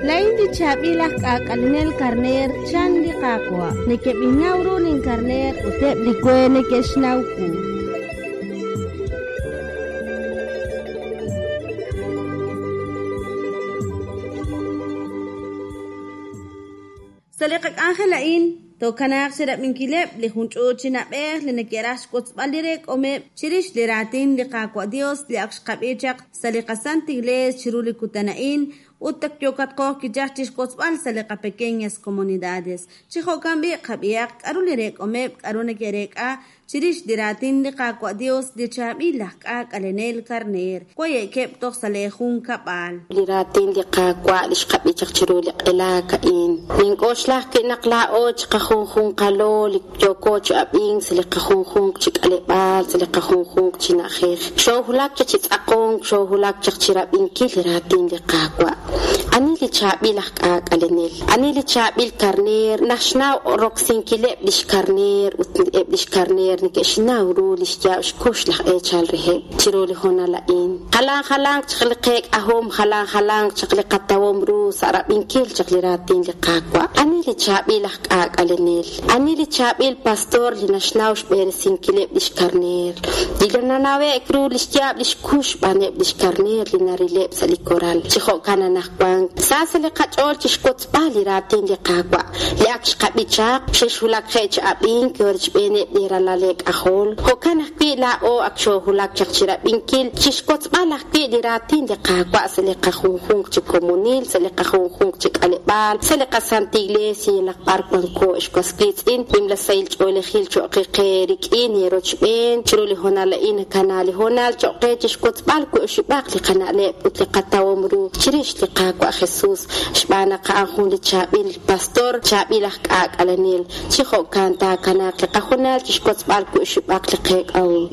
Laa'in li chaab'il aj k'aak'alenel karneer, chan li Qaawa'. Nekeb'innaw ru linkarneer ut eb' li we neke'xnaw wu. Sa' li qak'anjel a'in, tookanaaq chirab'inkileb' li jun ch'uut chi na'b'ej li neke'raj xwotzb'al li reek'omeb' chirix li raatin li Qaawa' Dios li ak xqab'i chaq sa' li qaSant Iglees chiru li kutan a'in ut ak yookatqo kichaj chixwotzb'al sa' li qapequeñas comunidades. Chi jo'kan b'i' qab'ihaq k'a'ru li reek'omeb' k'a'ru neke'reek'a chirix li raatin li Qaawa' Dios li chaab'il aj k'aak'alenel karneer. Waye'keb' toj sa' lee junkab'al. Li raatin li Qaawa' li xqab'i chaq chiru li q'elaak a'in. Nink'oxla ajwi' naq laa'o chiqajunjunqalo li yooko chi ab'ink sa' li qajunjunq chi k'aleb'aal, sa' li qajunjunq chi na'ajej. Xoowulak chaq chi tz'aqonk, xoowulak chaq chirab'inkil li raatin li Qaawa'. Ani li chaab'il aj k'aak'alenel? Ani li chaab'il karneer naxnaw roksinkileb' lix karneer ut eb' lix karneer neke'xnaw ru lix yaab' xkux laj eechal reheb' chiru li hoonal a'in? Jalan jalanq chaq li qeek'ahom, jalan jalanq chaq li qatawom ru sa' rab'inkil chaq li raatin li Qaawa'. Ani li chaab'il aj k'aak'alenel? Ani li chaab'il pastor li naxnaw xb'eresinkileb' lix karneer? Li nanawe'k ru lix yaab' lix kux xb'aaneb' lix karneer li narileb' sa' li koral. Chi jo'kan anaqwan, sa sa' li qach'ool chixwotzb'al li raatin li Qaawa' li ak xqab'i chaq, xexwulakje' chi ab'ink rochb'eeneb' li ralal eek'ajol. Jo'kan ajwi' laa'o ak xoowulak chaq chirab'inkil, chixwotzb'al ajwi' li raatin li Qaawa' sa' li qajunjunq chi komonil, sa' li qajunjunq chi k'aleb'aal, sa' li qasantil iglees yalaq b'ar wanko. Ex was wiitz'in, nimla sahil ch'oolejil cho'q qe eerik'in eerochb'een. Chiru li hoonal a'in nakana li hoonal cho'q qe chixwotzb'al wi' oxib'aq li qana'leb' ut li qatawom ru chirix li Qaawa' Jesus, xb'aan naq a'an jun li chaab'il pastor, chaab'il aj k'aak'alenel. Chi jo'kan taakanaaq li qahoonal chixwotzb'al wi' oxib'aq li qeek'ahom.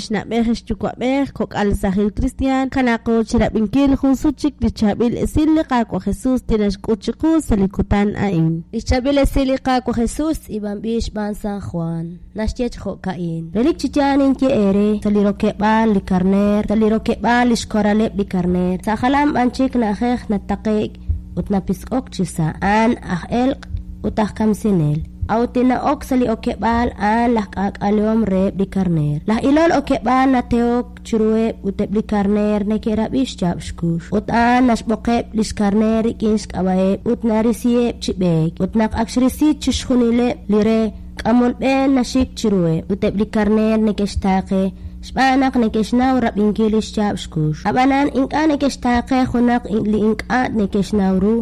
Xna'b'ej xyuwa'b'ej, kok'al saajil kristiaan, kanaaqo chirab'inkil jun sut chik li chaab'il esil li Qaawa' Jesus li naxk'ut chiqu sa' li kutan a'in. Li xchaab'il esil li Qaawa' Jesus tz'iib'anb'il xb'aan San Juan, naxye chi jo'ka'in: Relik chi yaal ninye eere, sa' li rokeb'aal li karneer, sa' li rokeb'aal li xkoraleb' li karneer, sa' jalan b'an chik na'ajej nataqe'k ut napisk'ok chisa', a'an aj elq' ut aj kamsinel. A'ut li na'ok sa' li okeb'aal a'an laj k'aak'alehom reheb' li karneer. Laj ilol okeb'aal natehok chiruheb' ut eb' li karneer neke'rab'i xyaab' xkux. Ut a'an naxb'oqeb' li xkarneer rik'in xk'ab'a'eb' ut narisiheb' chi b'eek. Ut naq ak xrisi chixjunileb' li re, k'amol b'e naxik chiruheb', ut eb' li karneer neke'xtaaqe xb'aan naq neke'xnaw rab'inkil li xyaab' xkux. Ab'anan ink'a' neke'xtaaqe junaq li ink'a' neke'xnaw ru.